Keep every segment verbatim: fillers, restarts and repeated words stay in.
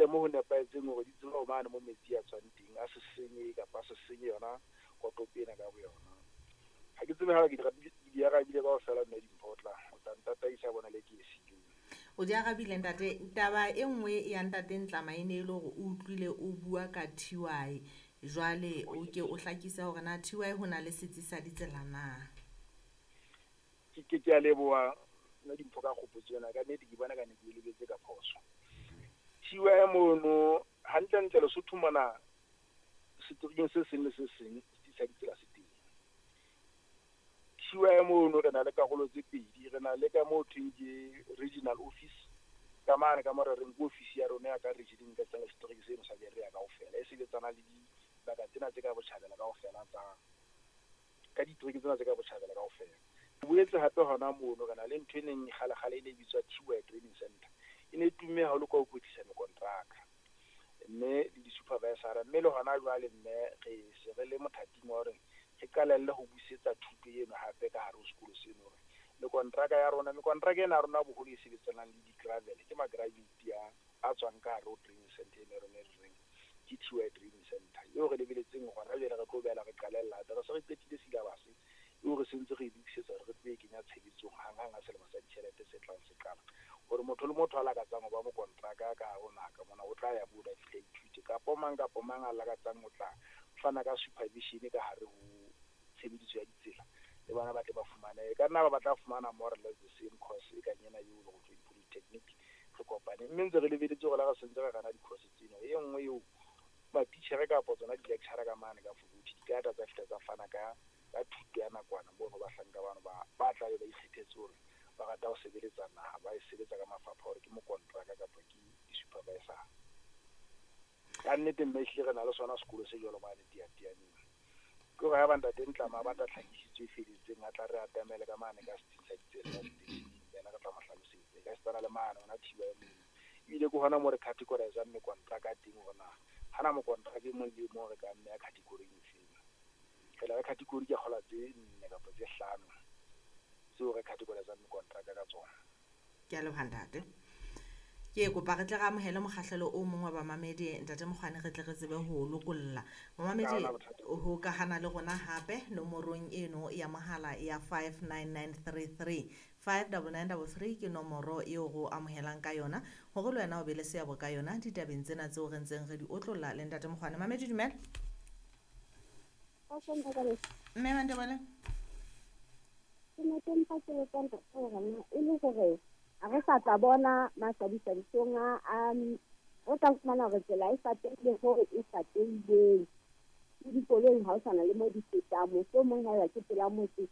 fihlelle mo ho nepahetseng hore di tsebe ho mane mo metsi a tswang teng, a se senye kapa a se senye yona kotopo ena ka boyona. Ha ke tsebe ha ke di di arabile kaofela mme Dimpho o tla o tla ntataisa bona le ke e siileng. O di arabile ntate. Taba e nngwe ya ntate Ntlama e ne e le hore o utlwile o bua ka T Y. Jwale o ke o hlakise hore na T Y ho na le setsi sa ditsela na? Ke ke ke a leboha nna Dimpho ka kgopotso ena, ka nnete ke bona ka ne ke e lebetse ka phoso. T Y mono hantlentle Lesotho mona seterekeng se seng le se seng setsi sa ditsela se teng. T Y mono re na le karolo tse pedi, re na le ka moo thweng ke regional office, ka mane ka mo re reng ke office ya rona ya ka region ka tsela setereke seno sa Berea kaofela, e sebetsana le dibaka tsena tse ka botjhabela kaofela tsa ka ditereke tsena tse ka botjhabela kaofela. Boetse hape hona mono re na le ntho e neng kgale-kgale e ne e bitswa T Y Training Center, e ne e tumme haholo ka ho kwetlisa mekontraka mme le di-supervisor-a, mme le hona jwale mme re se re le mothating wa hore re qalelle ho busetsa thuto eno hape ka hare ho sekolo seno, hore mekontraka ya rona, mekontraka ena ya rona boholo e sebetsanang le di-gravel, ke ma-graduate a, a tswang ka hare ho training center ena ya rona e re reng ke T Y Training Center, eo re lebeletseng hona jwale re tlo boela re qalella hape. Re se re qetile syllabus eo re sentse re e lokisetsa hore re tlo e kenya tshebetsong hang-hang ha selemo sa ditjhelete se tlang se qala, hore motho le motho a lakatsang ho ba mokontraka ka hare ho naha ka mona o tla ya moo a fihle a ithute, kapo mang kapo mang a lakatsang ho tla fana ka supervision ka hare ho tshebediso ya ditsela, le bona ba tle ba fumane, e ka nna ba batla fumana more or less the same course e kang ena eo le ho tswa di-polytechnic re kopane, mme ntse re lebeletse hore la re sentse re rana di-course tseno, e nngwe eo matitjhere kapa tsona di-lecturer ka mane ka Fukuti di ka tla tsa fihla tsa fana ka ka thuto ya nakwana mono bahlanka bano ba, ba tla be ba ikgethetse hore ba rata ho sebeletsa naha, ba e sebetsa ka mafapha hore ke mokontraka kapa ke di-supervisor. Ka nnete mme ehlile re na le sona sekolo se jwalo mane Teyateyaneng. Ke hore ha ba ntate Ntlama a batla tlhakisetso e felletseng, a tla re atamele ka mane ka setsing sa ditsela ka seteisheneng, yena re tla mo hlalosetsa. E ka setsana le mane hona T Y mono. Ebile ke hona moo re categorizang mekontraka teng hore na hana mokontraka e mong le e mong re ka mmeha category efeng. Re na le category ke kgola tse nne kapa tse hlano tseo re categorizang mekontraka ka tsona. Ke a leboha ntate. Ke kopa re tle re amohele mokgahlelo o mong wa bamamedi ntate Mokgwane, re tle re tsebe ho lokolla. Momamedi Ha hona bothata. o hokahana le rona hape nomorong eno ya mohala ya five nine nine three three, five double nine double three ke nomoro eo re o amohelang ka yona hore le wena o be le seabo ka yona ditabeng tsena tseo re ntseng re di otlolla le ntate Mokgwane. Mamedi dumela. Mme Mantebele. Ke ne ke mpa ke botsa ntate hore na e le hore ha re sa tla bona mahlabisabisong a, a, o tla fumana hore tsela e fatehile hoo e fatehileng. Le dikoloi ha o sa na le mo di fetang, mohlomong haeba ke pela motse,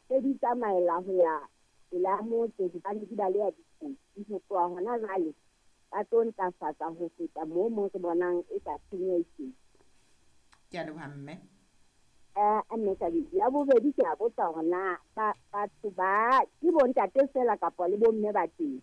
tse di tsamaela ho ya pela motse hobane di baleha dikotsi. Ho tloha hona jwale ba tlo ntlafatsa ho feta moo mo re bonang e ka tshenyo e teng. Ke a leboha mme. Eh, mme Kabedi, ya bobedi ke a botsa hore na ba, batho ba ke bontate feela kapa le bomme ba teng?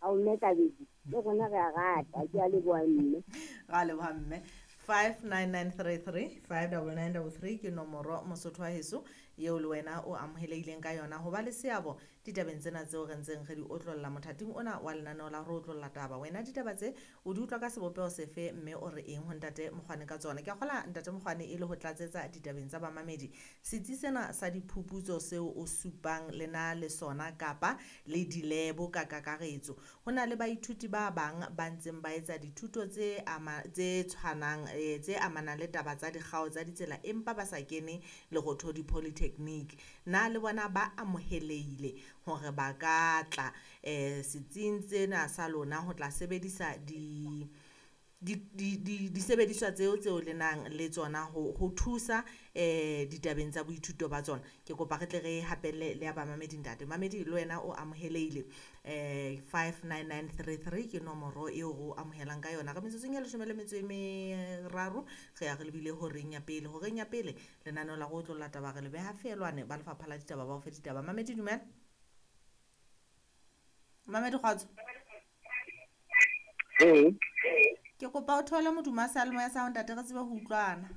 Ao mme Kabedi, le rona re a rata, ke a leboha mme. Ra leboha mme. five nine nine three three, five double nine double three ke nomoro Mosotho wa heso eo le wena o amohelehileng ka yona ho ba le seabo ditabeng tsena tseo re ntseng re di otlolla mothating ona wa lenaneo la re otlolla taba. Wena ditaba tse o di utlwa ka sebopeho sefe mme o re eng ho ntate Mokgwane ka tsona? Ke a kgola ntate Mokgwane e le ho tlatsetsa ditabeng tsa bamamedi. Setsi sena sa diphuputso seo o supang le na le sona kapa le dilebo ka kakaretso, ho na le baithuti ba bang ba ntseng ba etsa dithuto tse ama, tse tshwanang, eh, tse amanang le taba tsa dikgao tsa ditsela empa ba sa kene Lerothodi Polytechnic. Na le bona ba amohelehile hore ba ka tla, eh, setsing sena sa lona ho tla sebedisa di, di, di, di, disebediswa tseo tseo le nang le tsona ho, ho thusa, eh, ditabeng tsa boithuto ba tsona? Ke kopa re tle re hapelle le ya bamamedi ntate. Mamedi le wena o amohelehile, eh, five nine nine three three ke nomoro eo re o amohelang ka yona. Re metsotsong e leshome le metso e meraro re ya re lebile horeng ya pele. Horeng ya pele lenaneo la go otlolla taba re le beha feelwane ba lefapha la ditaba ba o fe ditaba. Mamedi dumela. Mamedi kgotso. Ee. Ke kopa o theole modumo wa seyalemoya sa hao ntate re tsebe ho utlwana.